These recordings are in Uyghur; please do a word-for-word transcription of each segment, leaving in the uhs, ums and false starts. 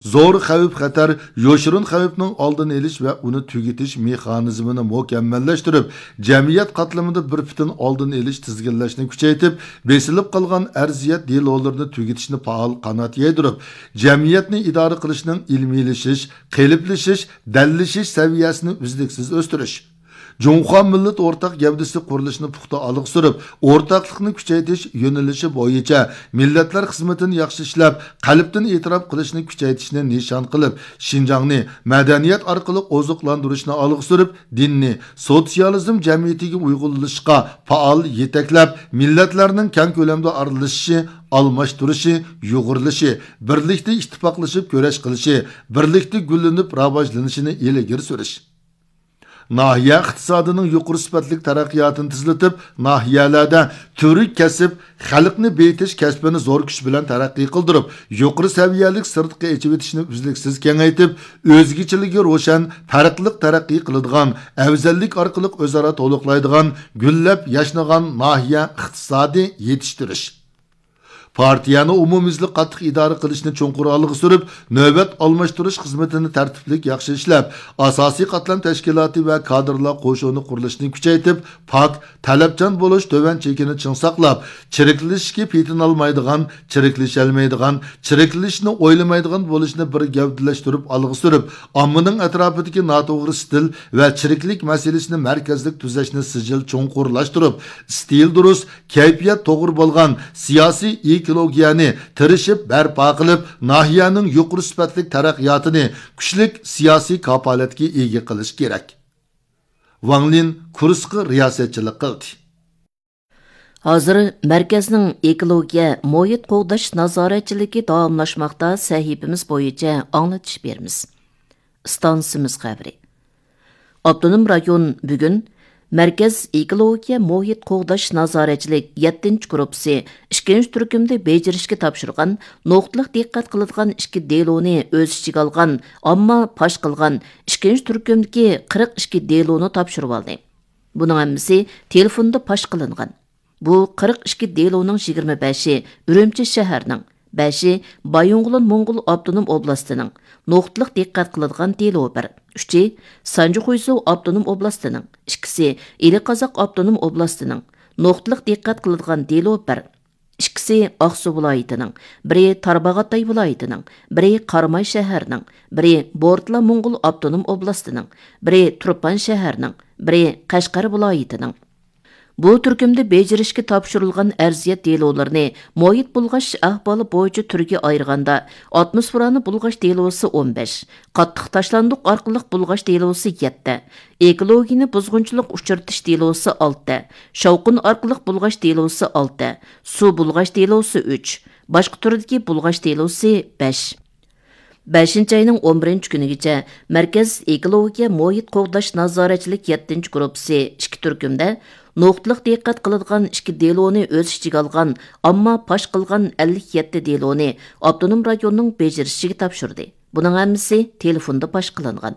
زور خەۋپ-خەتەر، يوشۇرۇن خەۋپنىڭ ئالدىنى ئېلىش ۋە ئۇنى تۈگىتىش مېخانىزمىنى مۇكەممەللەشتۈرۈپ، جەمئىيەت قاتلىمىدا بىر پۈتۈن ئالدىنى ئېلىش تىزگىنلەشنى كۈچەيتىپ، بېسىلىپ قالغان ئەرزىيەت دېلولىرىنى تۈگىتىشنى پائال قانات يايدۇرۇپ، جەمئىيەتنى ئىدارە قىلىشنىڭ ئىلمىيلىشىش، قېلىپلىشىش، دەللىشىش سەۋىيەسىنى ئۈزلۈكسىز ئۆستۈرۈش. جۇڭخۇا مىللەت ئورتاق گەۋدىسى قۇرۇلۇشىنى پۇختا ئالغا سۈرۈپ، ئورتاقلىقنى كۈچەيتىش يۆنىلىشى بويىچە مىللەتلەر خىزمىتىنى ياخشى ئىشلەپ، قەلبتىن ئېتىراپ قىلىشنى كۈچەيتىشنى نىشان قىلىپ، شىنجاڭنى مەدەنىيەت ئارقىلىق ئوزۇقلاندۇرۇشنى ئالغا سۈرۈپ، دىننى سوتسىيالىزم جەمئىيىتىگە ئۇيغۇنلىشىشقا پائال يېتەكلەپ، مىللەتلەرنىڭ كەڭ كۆلەمدە ئارىلىشىشى، ئالماشتۇرۇشى، يۇغۇرۇلۇشى، بىرلىكتە ئىتتىپاقلىشىپ كۈرەش قىلىشى، بىرلىكتە گۈللىنىپ راۋاجلىنىشىنى ئىلگىرى سۈرۈش. ناھىيە ئىقتىسادىنىڭ يۇقىرى سۈپەتلىك تەرەققىياتىنى تېزلىتىپ، ناھىيەلەردە تۈۋرۈك كەسىپ، خەلقنى بېيىتىش كەسپىنى زور كۈچ بىلەن تەرەققىي قىلدۇرۇپ، يۇقىرى سەۋىيەلىك سىرتقى ئېچىۋېتىشنى ئۈزلۈكسىز كېڭەيتىپ، ئۆزگىچىلىكى روشەن، پەرقلىق تەرەققىي قىلىدىغان، ئەۋزەللىك ئارقىلىق ئۆزئارا تولۇقلايدىغان، گۈللەپ ياشنىغان ناھىيە ئىقتىسادى يېتىشتۈرۈش. پارتىيەنى ئومۇميۈزلۈك قاتتىق ئىدارە قىلىشنى چوڭقۇر ئالغا سۈرۈپ، نۆۋەت ئالماشتۇرۇش خىزمىتىنى تەرتىپلىك ياخشى ئىشلەپ، ئاساسىي قاتلام تەشكىلاتى ۋە كادىرلار قوشۇنى قۇرۇلۇشىنى كۈچەيتىپ، پاك، تەلەپچان بولۇش تۆۋەن چېكىنى چىڭ ساقلاپ، چىرىكلىشىشكە پېتىنالمايدىغان، چىرىكلىشەلمەيدىغان، چىرىكلىشىشنى ئويلىمايدىغان بولۇشنى بىر گەۋدىلەشتۈرۈپ ئالغا سۈرۈپ، ئاممىنىڭ ئەتراپىدىكى ناتوغرا ئىستىل ۋە چىرىكلىك مەسىلىسىنى مەركەزلىك تۈزەشنى سىجىل چوڭقۇرلاشتۇرۇپ، ئىستىل دۇرۇس، كەيپىيات توغرا بولغان سىياسىي ئېكولوگىيەنى تىرىشىپ بەرپا قىلىپ، ناھىيەنىڭ يۇقىرى سۈپەتلىك تەرەققىياتىنى كۈچلۈك سىياسىي كاپالەتكە ئىگە قىلىش كېرەك. ۋاڭ لىن كۇرسقا رىياسەتچىلىك قىلدى. ھازىر مەركەزنىڭ ئېكولوگىيە، مۇھىت قوغداش نازارەتچىلىكى داۋاملاشماقتا. سەھىپىمىز بويىچە ئاڭلىتىش بېرىمىز. ئىستانسىمىز خەۋىرى. ئاپتونوم رايون بۈگۈن مەركەز ئېكولوگىيە مۇھىت قوغداش نازارەتچىلىك يەتتىنچى گۇرۇپپىسى ئىككىنچى تۈركۈمدە بېجىرىشكە تاپشۇرغان، نۇقتىلىق دىققەت قىلىدىغان ئىككى دېلونى ئۆز ئىچىگە ئالغان، ئامما پاش قىلغان ئىككىنچى تۈركۈمدىكى قىرىق ئىككى دېلونى تاپشۇرۇۋالدى. بۇنىڭ ھەممىسى تېلېفوندا پاش قىلىنغان. بۇ قىرىق ئىككى دېلونىڭ يىگىرمە بەشى ئۈرۈمچى شەھەرنىڭ، بەشى بايىنغولىن موڭغۇل ئاپتونوم ئوبلاستىنىڭ، نۇقتىلىق دىققەت قىلىدىغان دېلو بىر، ئۈچى سانجى خۇيزۇ ئاپتونوم ئوبلاستىنىڭ، ئىككىسى ئىلى قازاق ئاپتونوم ئوبلاستىنىڭ، نۇقتىلىق دىققەت قىلىدىغان دېلو بىر، ئىككىسى ئاقسۇ ۋىلايىتىنىڭ، بىرى تارباغاتاي ۋىلايىتىنىڭ، بىرى قاراماي شەھەرنىڭ، بىرى بورتلا موڭغۇل ئاپتونوم ئوبلاستىنىڭ، بىرى تۇرپان شەھەرنىڭ، بىرى قەشقەر ۋىلايىتىنىڭ. بۇ تۈركۈمدە بېجىرىشكە تاپشۇرۇلغان ئەرزىيەت دېلولىرىنى مۇھىت بۇلغاش ئەھۋالى بويىچە تۈرگە ئايرىغاندا، ئاتموسفېرانى بۇلغاش دېلوسى ئون بەش، قاتتىق تاشلاندۇق ئارقىلىق بۇلغاش دېلوسى يەتتە، ئېكولوگىيىنى بۇزغۇنچىلىق ئۇچرىتىش دېلوسى ئالتە، شاۋقۇن ئارقىلىق بۇلغاش دېلوسى ئالتە، سۇ بۇلغاش دېلوسى ئۈچ، باشقا تۈردىكى بۇلغاش دېلوسى بەش. بەشىنچى ئاينىڭ ئون بىرىنچى كۈنىگىچە مەركەز ئېكولوگىيە مۇھىت قوغداش نازارەتچىلىك يەتتىنچى گۇرۇپپىسى ئىككى تۈركۈمدە نۇقتىلىق دىققەت قىلىدىغان ئىككى دېلونى ئۆز ئىچىگە ئالغان، ئامما پاش قىلغان ئەللىك يەتتە دېلونى ئاپتونوم رايوننىڭ بېجىرىشىگە تاپشۇردى. بۇنىڭ ھەممىسى تېلېفوندا پاش قىلىنغان.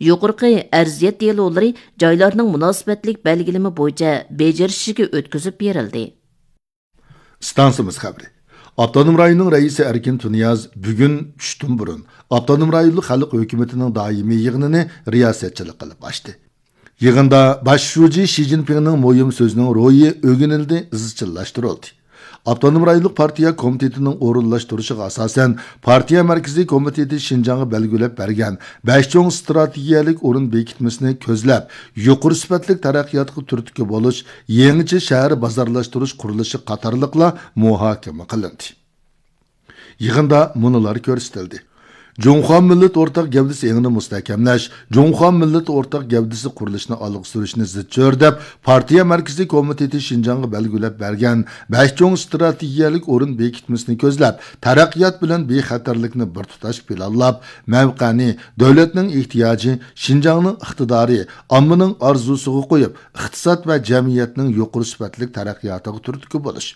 يۇقىرىقى ئەرزىيەت دېلولىرى جايلارنىڭ مۇناسىۋەتلىك بەلگىلىمە بويىچە بېجىرىشىگە ئۆتكۈزۈپ بېرىلدى. ئىستانسىمىز خەۋىرى. ئاپتونوم رايوننىڭ رەئىسى ئەركىن تۇنىياز بۈگۈن چۈشتىن بۇرۇن ئاپتونوم رايونلۇق خەلق ھۆكۈمىتىنىڭ دائىمىي يىغىنىنى رىياسەتچىلىك قىلىپ ئاچتى. يىغىندا باش شۇجى شى جىنپىڭنىڭ مۇھىم سۆزىنىڭ روھى ئۆگىنىلدى، ئىزچىللاشتۇرۇلدى. ئاپتونوم رايونلۇق پارتىيە كومىتېتىنىڭ ئورۇنلاشتۇرۇشىغا ئاساسەن، پارتىيە مەركىزىي كومىتېتى شىنجاڭغا بەلگىلەپ بەرگەن بەش چوڭ ئىستراتېگىيەلىك ئورۇن بېكىتمىسىنى كۆزلەپ، يۇقىرى سۈپەتلىك تەرەققىياتقا تۈرتكە بولۇش، يېڭىچە شەھەر بازارلاشتۇرۇش قۇرۇلۇشى قاتارلىقلار مۇھاكىمە قىلىندى. يىغىندا مۇنۇلار كۆرسىتىلدى. جۇڭخۇا مىللەت ئورتاق گەۋدىسى ئېڭىنى مۇستەھكەملەش، جۇڭخۇا مىللەت ئورتاق گەۋدىسى قۇرۇلۇشىنى ئالغا سۈرۈشنى زىچ چۆرىدەپ، پارتىيە مەركىزىي كومىتېتى شىنجاڭغا بەلگىلەپ بەرگەن بەش چوڭ ئىستراتېگىيەلىك ئورۇن بېكىتمىسىنى كۆزلەپ، تەرەققىيات بىلەن بىخەتەرلىكنى بىر تۇتاش پىلانلاپ، مەۋقەنى دۆلەتنىڭ ئېھتىياجى، شىنجاڭنىڭ ئىقتىدارى، ئاممىنىڭ ئارزۇسىغا قويۇپ، ئىقتىساد ۋە جەمئىيەتنىڭ يۇقىرى سۈپەتلىك تەرەققىياتىغا تۈرتكە بولۇش.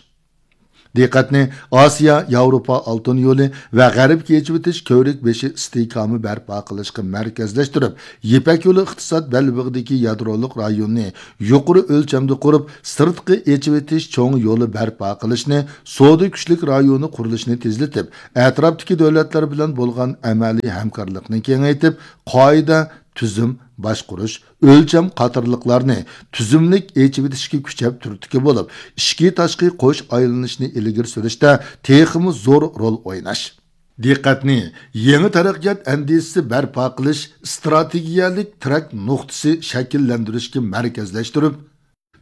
دىققەتنى ئاسىيا ياۋروپا ئالتۇن يولى ۋە غەربكە ئېچىۋېتىش كۆۋرۈك بېشى ئىستىھكامى بەرپا قىلىشقا مەركەزلەشتۈرۈپ، يىپەك يولى ئىقتىساد بەلبېغىدىكى يادرولۇق رايوننى يۇقىرى ئۆلچەمدە قۇرۇپ، سىرتقى ئېچىۋېتىش چوڭ يولى بەرپا قىلىشنى، سودا كۈچلۈك رايونى قۇرۇلۇشىنى تېزلىتىپ، ئەتراپتىكى دۆلەتلەر بىلەن بولغان ئەمەلىي ھەمكارلىقنى كېڭەيتىپ، قائىدە، تۈزۈم، باشقۇرۇش، ئۆلچەم قاتارلىقلارنى تۈزۈملۈك ئېچىۋېتىشكە كۈچەپ تۈرتكە بولۇپ، ئىچكى تاشقى قوش ئايلىنىشنى ئىلگىرى سۈرۈشتە تېخىمۇ زور رول ئويناش. دىققەتنى يېڭى تەرەققىيات ئەندىزىسى بەرپا قىلىش، ئىستراتېگىيەلىك تىرەك نۇقتىسى شەكىللەندۈرۈشكە مەركەزلەشتۈرۈپ،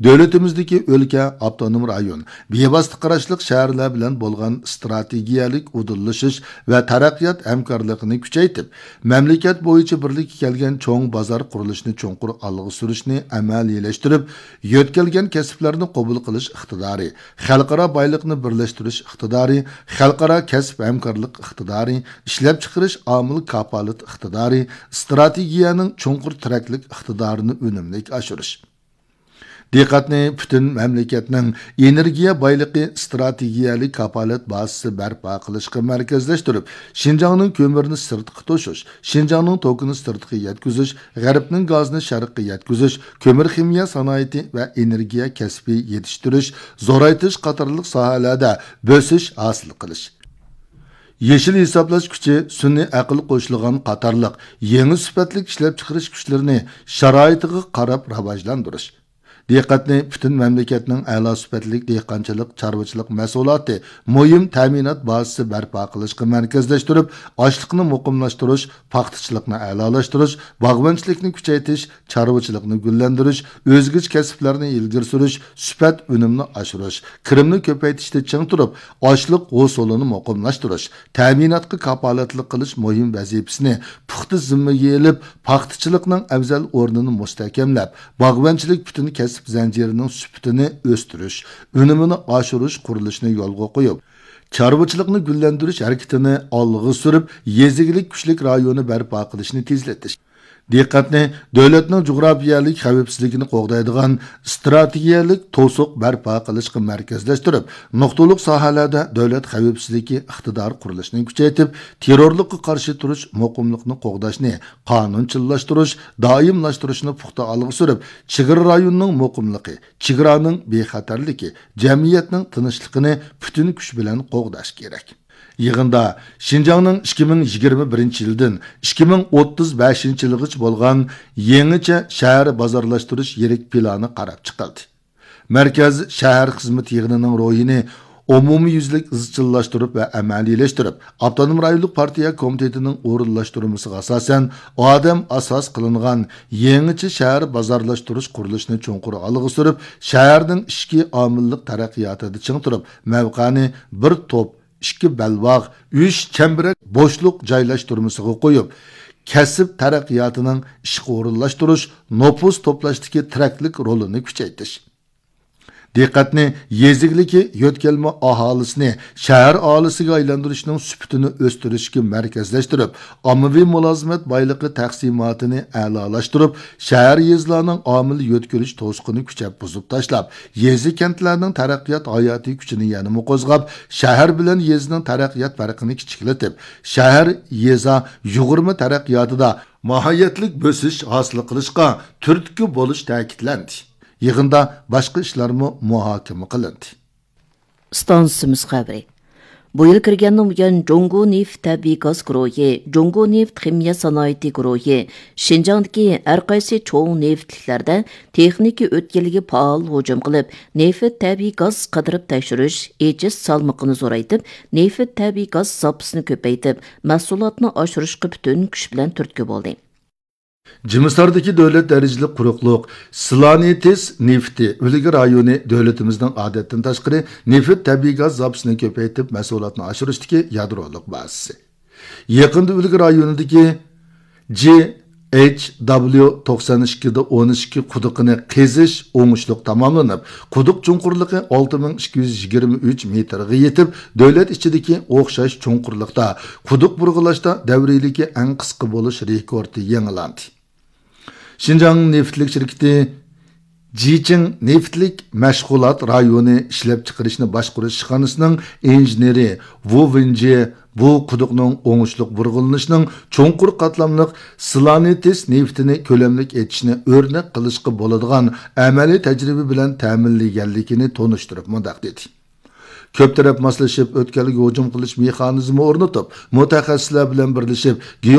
دۆلىتىمىزدىكى ئۆلكە، ئاپتونوم رايون، بىۋاسىتە قاراشلىق شەھەرلەر بىلەن بولغان ئىستراتېگىيەلىك ئۇدۇللىشىش ۋە تەرەققىيات ھەمكارلىقىنى كۈچەيتىپ، مەملىكەت بويىچە بىرلىككە كەلگەن چوڭ بازار قۇرۇلۇشىنى چوڭقۇر ئالغا سۈرۈشنى ئەمەلىيلەشتۈرۈپ، يۆتكەلگەن كەسىپلەرنى قوبۇل قىلىش ئىقتىدارى، خەلقئارا بايلىقنى بىرلەشتۈرۈش ئىقتىدارى، خەلقئارا كەسىپ ھەمكارلىق ئىقتىدارى، ئىشلەپچىقىرىش ئامىل كاپالىتى ئىقتىدارى، ئىستراتېگىيەنىڭ چوڭقۇر تىرەكلىك ئىقتىدارىنى ئۈنۈملۈك ئاشۇرۇش. دىققەتنى پۈتۈن مەملىكەتنىڭ ئېنېرگىيە بايلىقى ئىستراتېگىيەلىك كاپالەت بازىسى بەرپا قىلىشقا مەركەزلەشتۈرۈپ، شىنجاڭنىڭ كۆمۈرىنى سىرتقا توشۇش، شىنجاڭنىڭ توكىنى سىرتقا يەتكۈزۈش، غەربنىڭ گازىنى شەرققە يەتكۈزۈش، كۆمۈر خىمىيە سانائىتى ۋە ئېنېرگىيە كەسپى يېتىشتۈرۈش، زورايتىش قاتارلىق ساھەلەردە بۆسۈش ھاسىل قىلىش. يېشىل ھېسابلاش كۈچى، سۈنئىي ئەقىل قوشۇلغان قاتارلىق يېڭى سۈپەتلىك ئىشلەپچىقىرىش كۈچلىرىنى شارائىتىغا قاراپ راۋاجلاندۇرۇش. دىققەتنى پۈتۈن مەملىكەتنىڭ ئەلا سۈپەتلىك دېھقانچىلىق، چارۋىچىلىق مەھسۇلاتى مۇھىم تەمىنات بازىسى بەرپا قىلىشقا مەركەزلەشتۈرۈپ، ئاشلىقنى مۇقىملاشتۇرۇش، پاختىچىلىقنى ئەلالاشتۇرۇش، باغۋەنچىلىكنى كۈچەيتىش، چارۋىچىلىقنى گۈللەندۈرۈش، ئۆزگىچە كەسىپلەرنى ئىلگىرى سۈرۈش، سۈپەت ئۈنۈمنى ئاشۇرۇش، كىرىمنى كۆپەيتىشتە چىڭ تۇرۇپ، ئاشلىق ھوسۇلىنى مۇقىملاشتۇرۇش، تەمىناتقا كاپالەتلىك قىلىش مۇھىم ۋەزىپىسىنى پۇختا زىممىگە ئېلىپ، پاختىچىلىقنىڭ ئەۋزەل ئورنىنى مۇستەھكەملەپ، باغۋەنچىلىك پۈتۈن كەسىپ زەنجىرىنىڭ سۈپىتىنى ئۆستۈرۈش، ئۈنۈمىنى ئاشۇرۇش قۇرۇلۇشىنى يولغا قويۇپ، چارۋىچىلىقنى گۈللەندۈرۈش ھەرىكىتىنى ئالغا سۈرۈپ، يېزا ئىگىلىك كۈچلۈك رايونى بەرپا قىلىشنى تېزلىتىش. دىققەتنى دۆلەتنىڭ جۇغراپىيەلىك خەۋپسىزلىكىنى قوغدايدىغان ئىستراتېگىيەلىك توسۇق بەرپا قىلىشقا مەركەزلەشتۈرۈپ، نۇقتىلىق ساھەلەردە دۆلەت خەۋپسىزلىكى ئىقتىدارى قۇرۇلۇشىنى كۈچەيتىپ، تېررورلۇققا قارشى تۇرۇش، مۇقىملىقنى قوغداشنى قانۇنچىللاشتۇرۇش، دائىملاشتۇرۇشنى پۇختا ئالغا سۈرۈپ، چېگرا رايونىنىڭ مۇقىملىقى، چېگرانىڭ بىخەتەرلىكى، جەمئىيەتنىڭ تىنچلىقىنى پۈتۈن كۈچ بىلەن قوغداش كېرەك. يىغىندا شىنجاڭنىڭ ئىككى مىڭ يىگىرمە بىرىنچى يىلدىن ئىككى مىڭ ئوتتۇز بەشىنچى يىلغىچە بولغان يېڭىچە شەھەر بازارلاشتۇرۇش يىرىك پىلانى قاراپ چىقىلدى. مەركەز شەھەر خىزمىتى يىغىنىنىڭ روھىنى ئومۇميۈزلۈك ئىزچىللاشتۇرۇپ ۋە ئەمەلىيلەشتۈرۈپ، ئاپتونوم رايونلۇق پارتىيە كومىتېتىنىڭ ئورۇنلاشتۇرمىسىغا ئاساسەن، ئادەم ئاساس قىلىنغان يېڭىچە شەھەر بازارلاشتۇرۇش قۇرۇلۇشىنى چوڭقۇر ئالغا سۈرۈپ، شەھەرنىڭ ئىچكى ئامىللىق تەرەققىياتىدا چىڭ تۇرۇپ، مەۋقەنى بىر توپ، ئىككى بەلباغ، ئۈچ چەمبىرەك بوشلۇق جايلاشتۇرمىسىغا قويۇپ، كەسىپ تەرەققىياتىنىڭ ئىشقا ئورۇنلاشتۇرۇش، نوپۇس توپلاشتىكى تىرەكلىك رولىنى كۈچەيتىش. دىققەتنى يېزا ئىگىلىكى يۆتكەلمە ئاھالىسىنى شەھەر ئاھالىسىگە ئايلاندۇرۇشنىڭ سۈپىتىنى ئۆستۈرۈشكە مەركەزلەشتۈرۈپ، ئاممىۋى مۇلازىمەت بايلىقى تەقسىماتىنى ئەلالاشتۇرۇپ، شەھەر، يېزىلارنىڭ ئامىل يۆتكىلىش توسۇقىنى كۈچەپ بۇزۇپ تاشلاپ، يېزا، كەنتلەرنىڭ تەرەققىيات ھاياتىي كۈچىنى يەنىمۇ قوزغاپ، شەھەر بىلەن يېزىنىڭ تەرەققىيات پەرقىنى كىچىكلىتىپ، شەھەر، يېزا يۇغۇرما تەرەققىياتىدا ماھىيەتلىك بۆسۈش ھاسىل قىلىشقا تۈرتكە بولۇش تەكىتلەندى. يىغىندا باشقا ئىشلارمۇ مۇھاكىمە قىلىندى. ئىستانسىمىز خەۋىرى. بۇ يىل كىرگەندىن بۇيان، جۇڭگو نېفىت تەبىئىي گاز گۇرۇھى، جۇڭگو نېفىت خىمىيە سانائىتى گۇرۇھى شىنجاڭدىكى ھەر قايسى چوڭ نېفىتلىكلەردە تېخنىكا ئۆتكەلگە پائال ھۇجۇم قىلىپ، نېفىت تەبىئىي گاز قىدىرىپ تەكشۈرۈش، ئېچىش سالمىقىنى زورايتىپ، نېفىت تەبىئىي گاز زاپىسىنى كۆپەيتىپ، مەھسۇلاتنى ئاشۇرۇشقا پۈتۈن كۈچ بىلەن تۈرتكە بولدى. جىمىساردىكى دۆلەت دەرىجىلىك قۇرۇقلۇق سلانىتىس نېفىتى ئۈلگە رايونى دۆلىتىمىزنىڭ ئادەتتىن تاشقىرى نېفىت تەبىئىي گاز زاپىسىنى كۆپەيتىپ، مەھسۇلاتنى ئاشۇرۇشتىكى يادرولۇق بازىسى. يېقىندا ئۈلگە رايونىدىكى جي ئېچ دابليۇ توقسەن ئىككى دە ئون ئىككى قۇدۇقىنى قېزىش ئوڭۇشلۇق تاماملىنىپ، قۇدۇق چوڭقۇرلۇقى ئالتە مىڭ ئىككى يۈز يىگىرمە ئۈچ مېتىرغا يېتىپ، دۆلەت ئىچىدىكى ئوخشاش چوڭقۇرلۇقتا قۇدۇق بۇرغىلاشتا دەۋرىيلىكى ئەڭ قىسقا بولۇش رېكورتى يېڭىلاندى. شىنجاڭ نېفىتلىك شىركىتى جىچىڭ نېفىتلىك مەشغۇلات رايونى ئىشلەپچىقىرىشنى باشقۇرۇش ئىشخانىسىنىڭ ئىنژېنېرى ۋۇ ۋېنجى بۇ قۇدۇقنىڭ ئوڭۇشلۇق بۇرغىلىنىشىنىڭ چوڭقۇر قاتلاملىق سلانېتس نېفىتىنى كۆلەملىك ئېچىشنى ئۆرنەك قىلىشقا بولىدىغان ئەمەلىي تەجرىبە بىلەن تەمىنلىگەنلىكىنى تونۇشتۇرۇپ مۇنداق دېدى: كۆپ تەرەپ ماسلىشىپ ئۆتكەلگە ھۇجۇم قىلىش مېخانىزمى ئورنىتىپ، مۇتەخەسسىسلەر بىلەن بىرلىشىپ